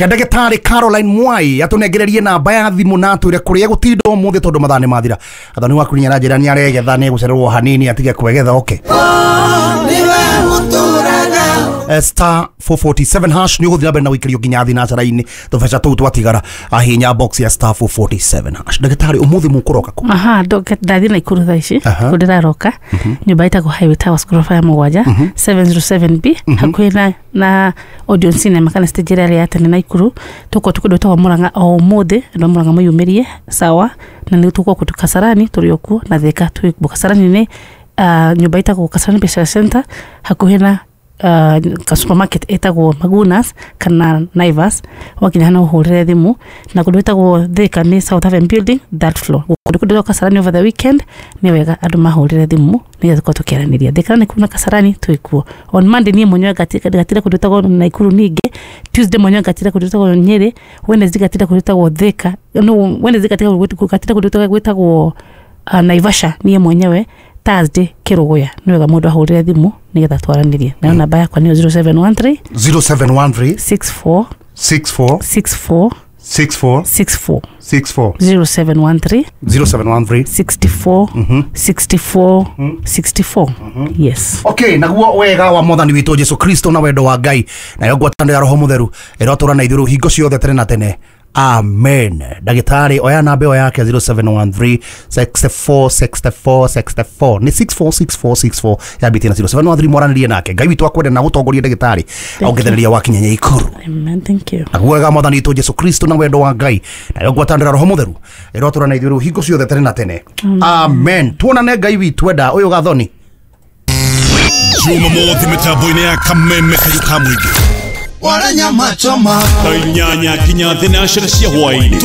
Reke ndagĩtarĩ Caroline Mwai atũnengererie namba ya thimũ na atwĩre kũrĩa gũtinda ũmũthĩ tondũ mathaa nĩ mathira. Athoni waku nĩ aranjĩra nĩ aregetha, nĩ egũcererwo hanini atige kwegetha. Okay, star 447 hash nĩ ũgũthiĩ na mbere na gũikĩrio nginya thinacara-inĩ tũbeca tũu twatigara. Ahinya box ya star 447 hash. Ndagĩtarĩ, ũmũthĩ mũkũroka kũ? Aha, ndathiĩ Naikuru thaa ici. Kũ ndĩraroka nyũmba ĩtagwo Highway Towers, ngoroba ya 7, 707B, hakuhĩ na Odeon Cinema kana stage ĩrĩa ya tene Naikuru. Tũkorwo tũkũndũ gwĩtagwo Murang'a o ũmũthĩ. Andũ a Murang'a mwĩyumĩrie, sawa? Na nĩ tũkorwo kũndũ Kasarani, tũrĩ o kuo, na Thika twĩ kuo. Kasarani nĩ nyũmba ĩtagwo Kasarani Business Center, hakuhĩ na ka supermarket ĩtagwo Magunas kana Naivas. Wakinya hana ũhũrĩre thimũ. Na kũndũ gwĩtagwo Thika nĩ South Haven Building, third floor. Kũndũ kũndũ Kasarani over the weekend, nĩ wega andũ mahũrĩre thimũ nĩgetha tũkorwo tũkĩaranĩria. Thika nĩ kuo na Kasarani twĩ kuo. On Monday niĩ mwenyewe ngatira kũndũ gwĩtagwo Naikuru, ningĩ Tuesday mwenyewe ngatira kũndũ gwĩtagwo Nyĩrĩ, Wednesday ngatira kũndũ gwĩtagwo Thika, no Wednesday ngatira kũndũ gwĩtagwo Naivasha niĩ mwenyewe, Thursday Kĩrũgũya. Nĩ wega mũndũ ahũrĩre thimũ nĩgetha twaranĩrie. Nayo namba yakwa nĩyo 0713 0713 64 64 64 64 64. 64. 0713 0713 64 64 64, yes. Okay, naguo wega wa Mwathani witũ Jesu Kristo na wendo wa Ngai nayo ngwatanĩro ya Roho Mũtheru ĩrotũra na ithuĩ hingo ciothe tene na tene, amen. Ndagĩtarĩ, oya namba ĩyo yake, 0713 64 64 64, nĩ 646464 yambĩtie na 0713. Mwaranĩrie nake. Ngai witũ akwende na gũtongoria, ndagĩtarĩ, ongethereria wakinya Ikuru. Amen, thank you. Naguo wega wa Mwathani witũ Jesu Kristo na wendo wa Ngai nayo ngwatanĩro ya Roho Mũtheru ĩrotũra na ithuĩ hingo ciothe tene na tene, amen. Tuonane Ngai witũ enda. Ũyũ Gathoni. Jumamothi mĩtambo-inĩ ya Kameme kayũ ka mũingĩ Wala nyama choma. Thaa 8 nginya 9 cia hwaĩ-inĩ.